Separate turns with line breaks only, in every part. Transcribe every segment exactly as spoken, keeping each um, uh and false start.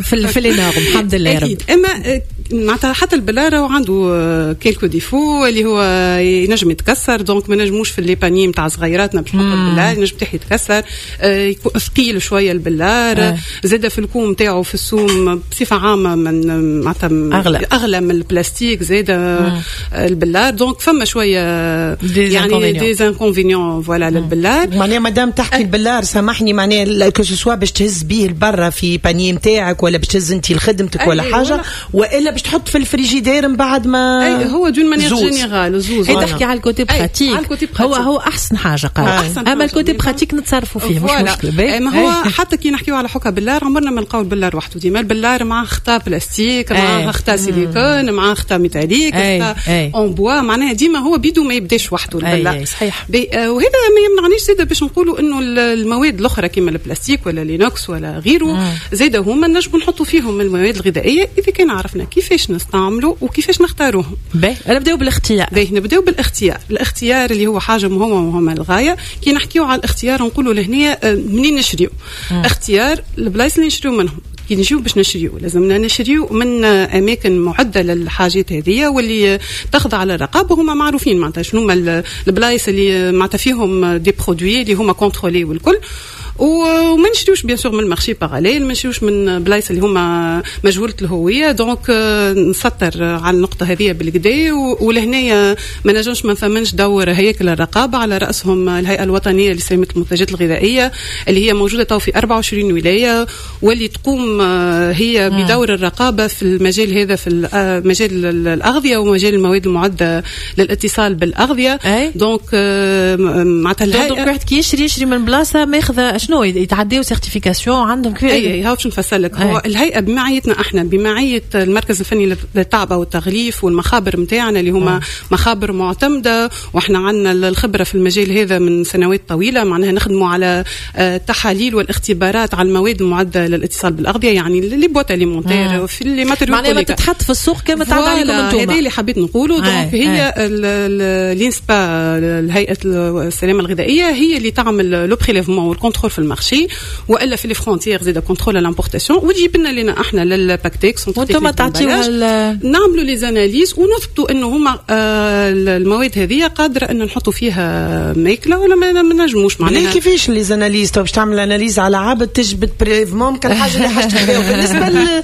في في les normes، الحمد لله يا رب.
اما معناتها حتى البلار عنده quelques défauts، اللي هو ينجم يتكسر، donc ما نجموش في les paniers نتاع صغيراتنا باش نحط البلار، ينجم تاعه يتكسر، ثقيل شوية البلار، زاد في ال coût نتاعو، في السوم بصفة عامة من معناتها
اغلى
اغلى من البلاستيك زاد البلار، donc فما شوية يعني des inconvénients voilà للبلار.
معناها مادام تحكي البلار، سامحني، معناها que ce soit باش تهز بيه لبرا في panier نتاعك ولا باش تهز انت لخدمتك ولا حاجه، والا باش تحط في الفريجيدير من بعد ما
اي هو d'une manière générale
زوز. هي تحكي على ال côté pratique، هو هو احسن حاجة قال أحسن، اما ال côté pratique نتصرفوا فيه، مش مشكله.
ما هو حتى كي نحكيو على حكا بلار، عمرنا ما نلقاو البلار وحده، ديما البلار مع خطا بلاستيك، مع خطا سيليكون، مع خطا métallique، خطا en bois، معناها ديما هو بيدو ما يبداش وحده البلار.
صحيح.
وهذا ما يمنعنيش زاد باش نقولوا انه المواد الاخرى كيما البلاستيك ولا l'inox ولا غيره زاد هما نجموا نحطوا فيهم المواد الغذائية اذا كان عرفنا كيفاش نستعملوا وكيفاش نختاروهم.
باهي، نبداو بالاختيار.
باهي، نبداو بالاختيار، الاختيار اللي هو حاجة مهمة مهمة للغايه. كي نحكيو على الاختيار نقولوا لهنا آه، منين نشريو، اختيار البلايص اللي نشريو منهم. كي نجيو باش نشريو لازمنا نشريو من اماكن معده للحاجات هذه واللي تخضع للرقابه، هما معروفين معناتها شنو هما البلايص اللي معناتها فيهم des produits اللي هما contrôlés والكل، وما نشريوش bien sûr من ال marché parallèle، ما نشريوش من بلايص اللي هما مجهولة الهويه. donc نسطر على النقطة هذه بالقدا، ولهنايا ما نجمش ما نثمنش دور هياكل الرقابه، على راسهم الهيئة الوطنية لسلامة المنتجات الغذائية اللي هي موجودة تو في أربعة وعشرين ولاية واللي تقوم هي بدور الرقابة في المجال هذا، في مجال الاغذية ومجال المواد المعدة للاتصال بالاغذيه. donc
معناتها الهيئه، donc واحد كي يشري يشري من بلاصة ماخذه شنو يتعداو certification عندهم
كيف؟ اي، هاو باش نفسر لك. هو الهيئة بمعيتنا احنا، بمعية المركز الفني للتعبئه والتغليف والمخابر نتاعنا اللي هما مخابر معتمده، واحنا عندنا الخبرة في المجال هذا من سنوات طويله، معناها نخدموا على التحاليل والاختبارات على المواد المعدة للاتصال بالاغذيه، يعني les boîtes alimentaires في
les matériaux معناها ما تتحط في السوق كما تعدى عليكم
انتم. هذا اللي حبيت نقوله. donc هي l'INSPA، الهيئة السلامة الغذائيه، هي اللي تعمل le prélèvement وال contrôle في ال marché والا في les frontières، زاد contrôle l'importation، وتجيب لنا لنا احنا لل PACTEC.
وانتم تعطيوها.
نعملوا les analyses ونثبتوا انه هما آه، المواد هذه قادرة ان نحطوا فيها ماكله ولا ما نجموش.
معناها كيفاش les analyses؟ تو باش تعمل analyse على عبد تجبد prélèvement كان حاجة اللي حاجة، بالنسبة لإناء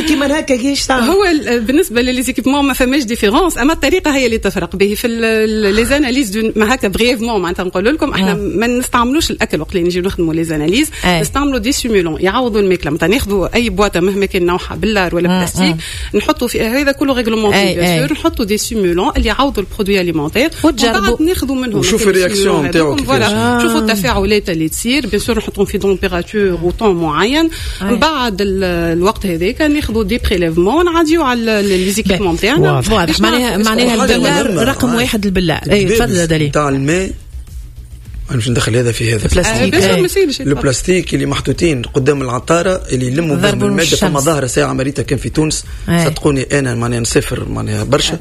كيما هكا كيفاش
تعمل؟ هو بالنسبة ل les équipements ما فماش différence، اما الطريقة هي اللي تفرق به في les analyses. ما هكا brièvement معناتها نقول لكم احنا ما نستعملوش الاكل وقت اللي نجيو نخدموا les analyses، نستعملوا des simulants يعوضوا الماكله. مثلا ناخذوا اي boîte مهما كان نوعها، بلار ولا بلاستيك، نحطوا في هذا كله réglementé bien sûr، نحطوا des simulants اللي يعوضوا ال produit alimentaire.
وتجربوا.
ناخذوا منهم
وشوف ال réaction نتاعو.
voilà، شوفوا التفاعلات اللي تصير. bien sûr نحطهم في température و temps معين، من بعد الوقت هذاك ناخذوا des prélèvements، نعديو على les équipements تاعنا.
واضح، معناها معناها البلار رقم واحد البلار. اي، تفضل دليل.
تاع الماء، انا مش ندخل هذا في هذا.
البلاستيك.
البلاستيك اللي محطوطين قدام العطاره اللي يلموا بهم المادة. فما ظاهره ساعة مريتها كان في تونس، صدقوني انا معناها نسافر معناها برشا،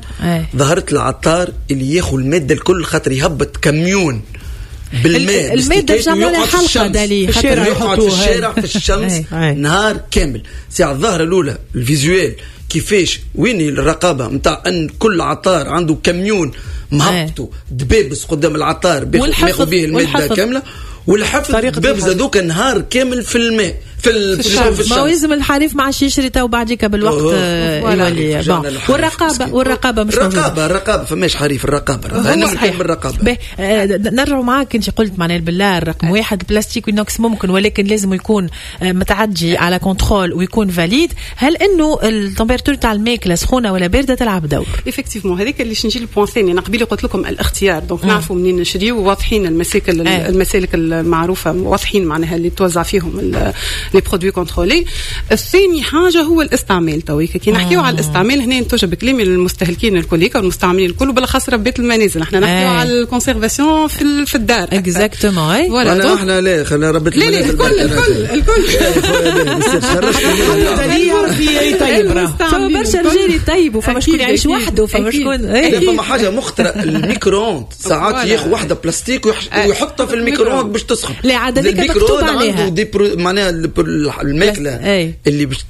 ظهرت العطار اللي ياخذ المادة الكل خاطر يهبط كميون بالماء.
المادة باش حلقة دالي.
في الشارع، يقعد في الشارع في الشمس نهار كامل. ساعة الظاهرة الاولى ال visuel كيفاش، وين الرقابة نتاع ان كل عطار عنده كميون مهبطوا دبابس قدام العطار بياخذ به المادة كامله، والحفظ دبابز هذوك نهار كامل في الماء في
في الشمس. ما لازم الحريف ما عادش يشري تو بعديك بالوقت يولي، والرقابه والرقابه مش
الرقابه، الرقابه، فماش حريف، الرقابه.
انا صحيح بالرقابه. آه، نرجعوا معاك، انت قلت معناها البلار رقم واحد، بلاستيك و inox ممكن ولكن لازم يكون آه، متعدي على contrôle ويكون valide. هل انه ال température تاع الماكلة سخونة ولا باردة تلعب دور؟
effectivement، هذيك اللي نجي لل point الثاني. انا قبيلة قلت لكم الاختيار، donc نعرفوا منين نشريو، واضحين المساكل المسالك المعروفه، واضحين معناها اللي توزع فيهم les produits contrôlés. الثاني حاجة هو الاستعمال. تويك كي نحكيو على الاستعمال هنا نتوجه بكلامي للمستهلكين الكل والمستعملين الكل، وبالاخص ربات المنازل. احنا نحكيو على ال conservation في في الدار.
exactement.
voilà، احنا لا، خلينا ربات
المنازل. لا، الكل الكل الكل.
يعرف يطيب.
فما برشا رجال يطيبوا، فما شكون يعيش وحده، فما شكون
فما حاجة مخطره، ال micro-ondes ساعات ياخذ واحدة بلاستيك ويحطها في ال micro-ondes باش تسخن.
لا عاد هذيك مكتوب عليها.
عنده des pro معناها الماكلة اللي باش